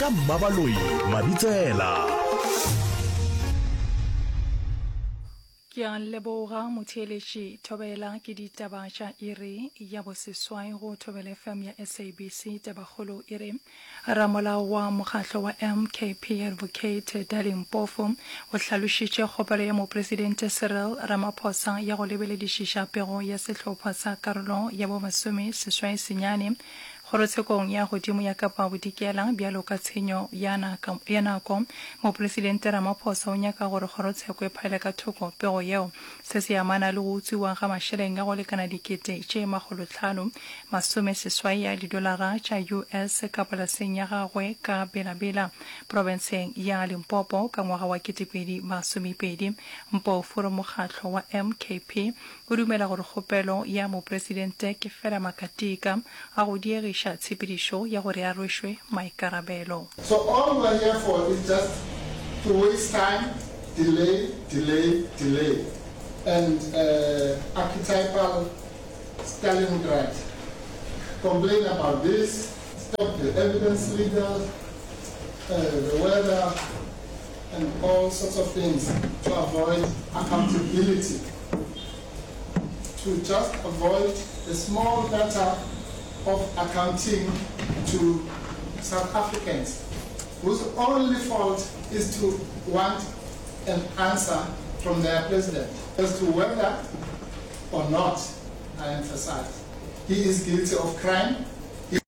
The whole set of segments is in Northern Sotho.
Ka Mmabaloi Mabitsela. Ke a leboga motheeletši Thobela ke ditaba tša iri ya boseswai go Thobela FM ya SABC. Tabakgolo e re Ramolao wa mokgatlo wa MKP Advocate Dali Mpofu o hlalošitše kgopelo ya Mopresidente Cyril Ramaphosa ya go lebeledišiša pego ya sehlopha sa karolo ya bo 69 Kgorotshekong ya Godimo ya Kapa Bodikela bjalo ka tshenyo ya ya nako. Mopresidente Ramaphosa o nyaka gore kgorotsheko e phaele ka thoko pego yeo. Se se amana le go utswiwa ga mašeleng a go lekana dikete tše makgolotlhano 80 ya didolara tša US ka polaseng ya gagwe ka Bela-Bela, profenseng ya Limpopo ka ngwaga wa 2020. Mpofu o re mokgatlo wa MKP o dumela gore kgopelo ya mopresidente ke fela makatika a go diegiša tshepedišo ya gore a rwešwe maikarabelo. So all we're here for is just to waste time, delay, delay, delay and archetypal Stalingrad, complain about this, stop the evidence legal, the weather and all sorts of things to avoid accountability, to just avoid the small matter of accounting to South Africans whose only fault is to want an answer from their president as to whether or not, I emphasize, he is guilty of crime. He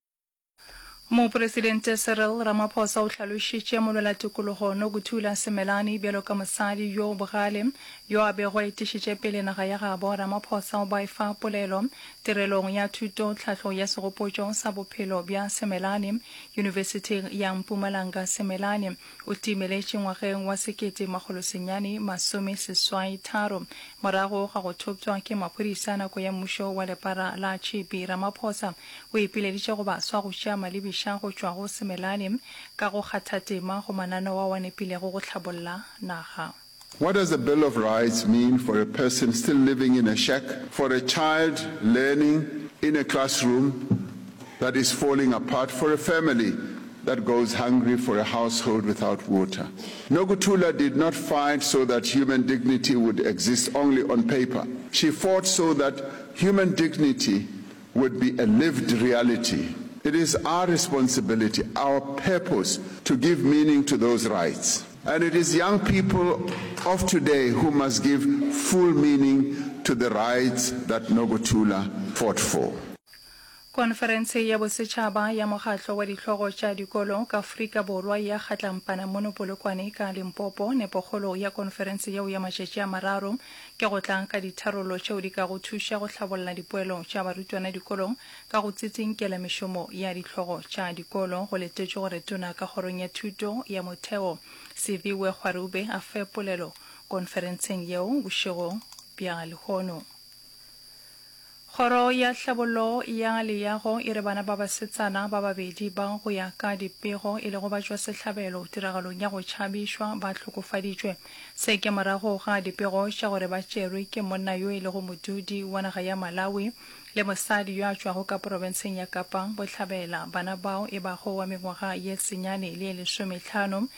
Mopresidente Cyril Ramaphosa o hlalošitše molwelatikologo Nokuthula Simelane bjalo ka mosadi yo bogale yo a bego a etišitše pele naga ya gabo. Ramaphosa o ba efa polelo tirelong ya thuto tlhahlo ya segopotšo sa bophelo bja Simelane Yunibesithing ya Mpumalanga. Simelane O timeletše ngwageng wa 1983 morago ga go thoptšwa ke maphodisa nako ya mmušo wa lepara la tšhipi. Ramaphosa o ipileditše go baswa go tšea malebiša go tšwa go Simelane ka go kgatha tema go mananeo ao a nepilego go hlabolla naga. What does the Bill of Rights mean for a person still living in a shack, for a child learning in a classroom that is falling apart, for a family that goes hungry, for a household without water? Nokuthula did not fight so that human dignity would exist only on paper. She fought so that human dignity would be a lived reality. It is our responsibility, our purpose, to give meaning to those rights. And it is young people of today who must give full meaning to the rights that Nokuthula fought for. Konferense ya Bosetšhaba ya Mokgatlo wa Dihlogo tša Dikolo ka Afrika Borwa ya Kgatlampana mono Polokwane ka Limpopo. Nepokgolo ya konferense yeo ya matšatši a mararo ke go tla ka ditharollo tšeo di kago thuša go hlabolla dipoelo tša barutwana dikolong ka go tsitsinkela mešomo ya dihlogo tša dikolo. Go letetšwe gore Tona ka Kgorong ya Thuto ya Motheo, Siviwe Gwarube a fe polelo konferenseng yeo bošego bja lehono. Kgoro ya Tlhabollo ya Leago e re bana ba basetsana ba babedi bao go ya ka dipego e lego batšwasehlabelo tiragalong ya go tšhabišwa ba hlokofaditšwe. Se ke morago ga dipego tša gore ba tšerwe ke monna yo e lego modudi wa naga ya Malawi le mosadi yo a tšwago ka porofenseng ya Kapa Bohlabela. Bana bao e bago wa mengwaga ye senyane le ye lesomehlano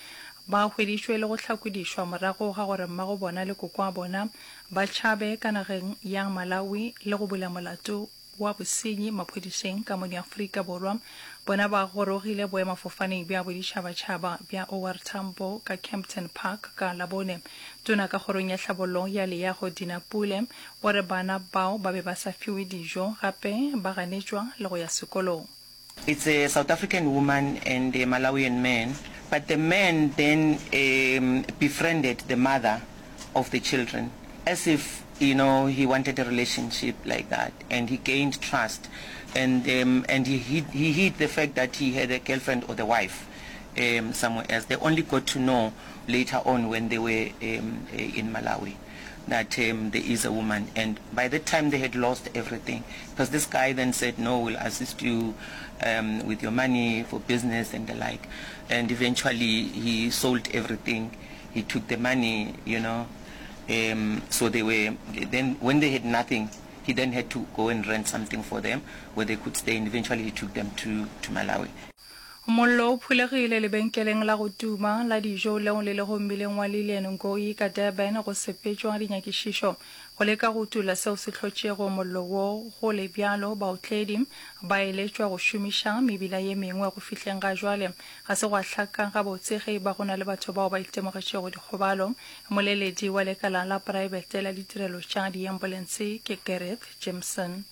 ba hweditšwe le go hlakodišwa morago ga gore mmago bona le kokoabona ba tšhabe ka nageng ya Malawi le go bula molato wa bosenyi maphodiseng ka mono Afrika Borwa. Bona ba gorogile boemafofaneng bja boditšhabatšhaba bja OR Tambo ka Kempton Park ka Labone. Tona ka kgorong ya tlhabollo ya leago Dina Pule o re bana bao ba be ba sa fiwe dijo gape ba ganetšwa le go ya sekolong. It's a South African woman and a Malawian man, but the man then um befriended the mother of the children as if you know he wanted a relationship like that and he gained trust and um and he hid, he hid the fact that he had a girlfriend or the wife um somewhere else. They only got to know later on when they were um in Malawi. that um, there is a woman and by that time they had lost everything because this guy then said no we'll assist you um, with your money for business and the like and eventually he sold everything he took the money you know um, so they were then when they had nothing he then had to go and rent something for them where they could stay and eventually he took them to, to Malawi. Mollo o phulegile lebenkeleng la go tuma la dijo leo le lego mmileng wa Lilian Ngoyi ka Durban go sepetšwa dinyakišišo go leka go utolla seo se hlotšego mollo wo. Go le bjalo, baotledi ba eletšwa go šomiša mebila ye mengwe. Go fihleng ga jwale ga se gwa hlaka gabotse ge e ba go na le batho bao ba itemogetšego dikgobalo. Moleledi wa lekala la praebete la ditirelo tša diambulense ke Gareth Jimson.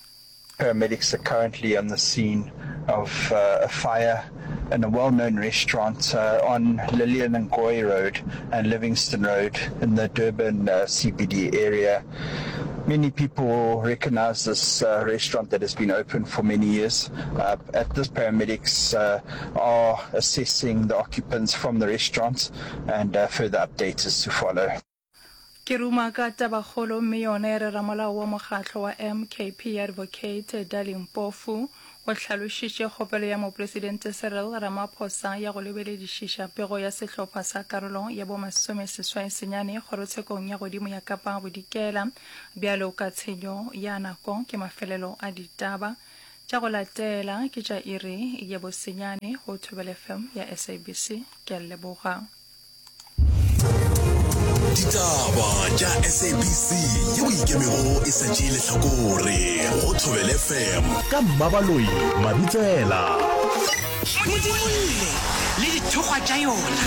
Paramedics are currently on the scene of a fire in a well-known restaurant on Lilian Ngoyi Road and Livingston Road in the Durban CBD area. Many people will recognize this restaurant that has been open for many years. At this, paramedics are assessing the occupants from the restaurant and further updates is to follow. Ke ruma ka tabakgolo mme yona e re ramolao wa mokgatlo wa MKP Advocate Dali Mpofu o hlalošitše kgopelo ya Mopresidente Cyril Ramaphosa ya go lebeledišiša pego ya sehlopha sa karolo ya bo masomeseswai-senyane kgorotshekong ya godimo ya Kapa Bodikela bjalo ka tshenyo ya nako ke mafelelo a ditaba tša go latela ke tša iri ya bosenyane go Thobela FM ya SABC. Ke a leboga. Ditaba tša SABC yeo e ikemego e sa tšee lehlakore go Thobela FM ka Mmabaloi Mabitsela. Modimolle le dithokgwa tša yona.